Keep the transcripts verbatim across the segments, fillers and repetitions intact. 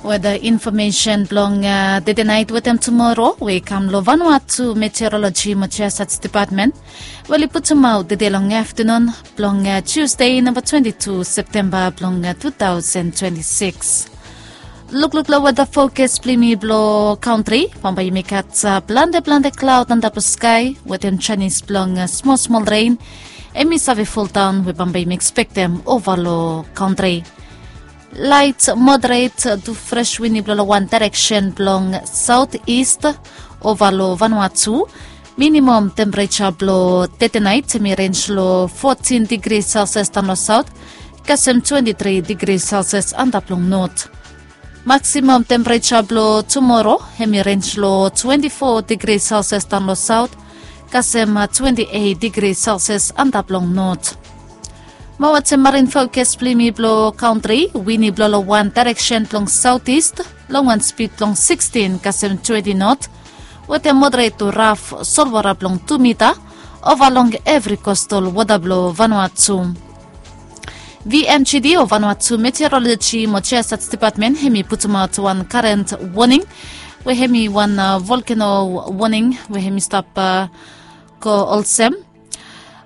Weda infomesen blong tede nait wetem tumoro we i kam long Vanuatu Meteoroloji mo Jiasats Depatmen, we oli putumaot tede long aftanun blong Tusde namba twenti tu Septemba blong tu taosen twenti sikis. Lukluk long weda fokas blong yumi blong kantri, bambae yumi gat plante plante klaod antap long skae wetem janis blong smol smol ren. Hemi save foldaon we bambae yumi ekspektem ova long kantri. Lait moderet tu fres wini blong long wan daereksen blong saot ist ova long Vanuatu. Minimom tempereja blong tede nait hemi renj long fotin digri selsias daon long saot kasem twenti tri digri selsias antap long not. Maksimom tempereja blong tumoro hemi renj long twenti fo digri selsias daon long saot kasem twenti eit digri selsias antap long not. Mo wetem marin fokas blong yumi blong kantri, wini blong long wan daereksen blong saot ist long wan spid blong sikstin kasem twenti not, wetem moderet tu raf solwara blong tu mita ova long evri kostal wota blong Vanuatu. VMGD o Vanuatu Meteoroloji mo Jiasats Depatmen hemi putumaot wan karen woning we hemi wan volkeno woning we hemi stap go olsem.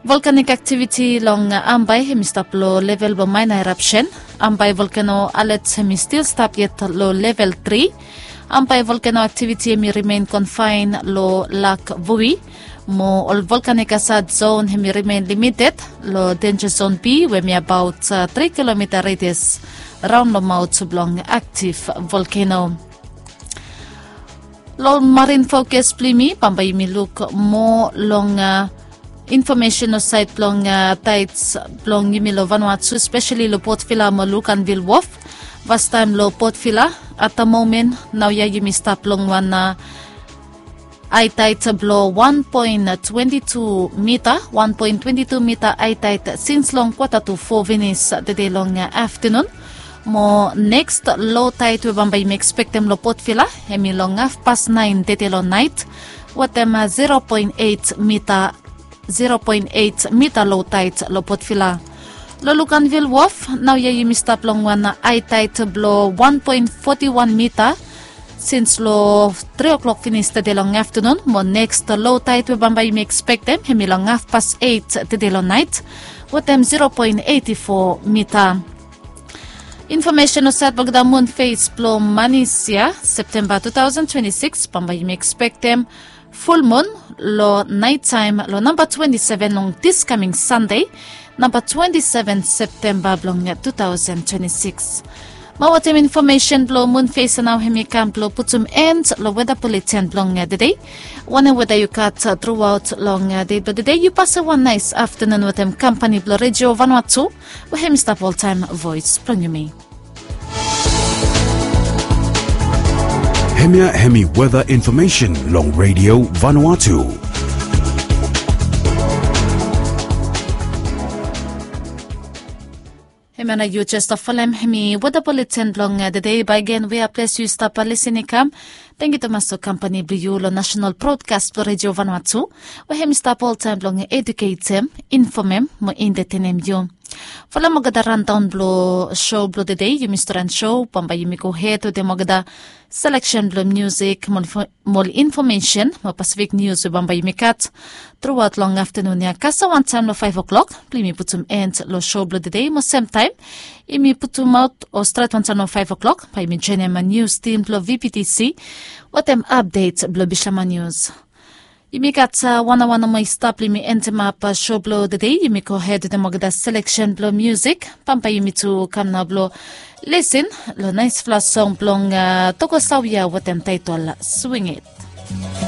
Volkanik aktiviti long Ambae hemi stap long level blong maena erapsen. Ambae volkeno alet hemi stil stap yet long level tri. Ambae volkeno aktiviti hemi rimen konfaen long Lak Vui. Mo ol volkanik asad zon hemi rimen limited long denja zon B we hemi abaot tri kilomita redias raon long maot blong aktiv volkeno. Long marin fokas blong yumi bambae yumi luk moa long infomesen long saed blong taets blong yumi long Vanuatu, speseli long Port Vila mo Luganville Wharf. Fastaem long Port Vila, at the moment naoia yumi stap long wan aetaet blong wan poen twenti tu mita, wan poen twenti tu mita aetaet sins long kwata tu fo finis tede long aftanun. Mo neks lotaet we bambae yumi ekspektem long Port Vila hemi long hafpas naen tede long naet wetem zero poen eit mita, zero poen eit mita lotaet long Port Vila. Long Luganville Wharf naoia yumi stap long wan aetaet blong wan poen foti wan mita sins long tri o'clock finis tede long aftanun, mo neks lotaet we bambae yumi ekspektem hemi long hafpas eit tede long naet wetem zero poen eiti fo mita. Infomesen long saed blong olgeta mun fes blong manis ya, Septemba tu taosen twenti sikis, bambae yumi ekspektem fulmun long naetaem long namba twenti seven long dis kaming Sande, namba twenti seven Septemba blong tu taosen twenti sikis. Mo wetem infomesen blong mun fes ya nao hemi kam blong putum en long weda buletin blong tede. Wanem weda yu gat truaot long dei blong tede, yu pasem wan naes aftanun wetem kampani blong Redio Vanuatu we hemi stap oltaem voes blong yumi. Hemia hemi weda infomesen long Redio Vanuatu. Hemia nao yu jes stap folem hemi weda buletin blong tede. Baegen we a ples yu stap lisin i kam. Tangkiu tumas long kampani blong yu long nasenal brodkas blong Redio Vanuatu we hemi stap oltaem blong eduketem, infomem mo entetenem yu. Folem olgeta randaon blong so blong tede, yumi stret long so, bambae yumi gohed wetem olgeta seleksen blong musik mo ol infomesen mo Pasifik nius we bambae yumi gat truaot long aftanun ya. Kasem wantaem long faef o'clock blong yumi putum en long so blong tede, mo semtaem yumi putumaot o stret wantaem long faef o'clock bae yumi joenem nius tim blong VPTC wetem apdet blong Bishlama Nius. Yumi gat wan aoa nomo i stap blong yumi endemap so blong tede. Yumi gohed wetem olgeta seleksen blong musik. Bambae yumi tu kam nao blong lisin long naesfala song blong Toko Sawia wetem taetol Swing It.